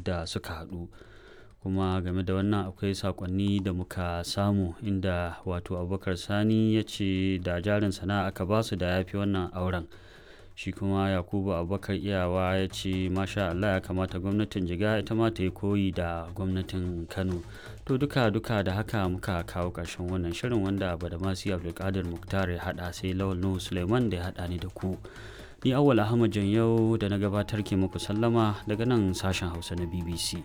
yadda suka haɗu. Kuma game da wannan akwai sakonni da muka samu inda wato Abubakar Sani ya ce da jarin sana'a aka basu da ya fi wannan auren. Shi kuma Yakubu Abubakar Iyawa ya ce masha Allah, ya kamata gwamnatin Jigawa ita ma ta yi koyi da gwamnatin Kano. To duka duka da haka muka kawo ƙarshen wannan shirin wanda Badamasi Abdulkadir Muktar ya haɗa, sai Lawal Nuhu Suleiman da ya haɗa ni da ku. Ni Awwal Ahmad Janyau da na gabatar ke muku sallama daga nan sashen Hausa na BBC.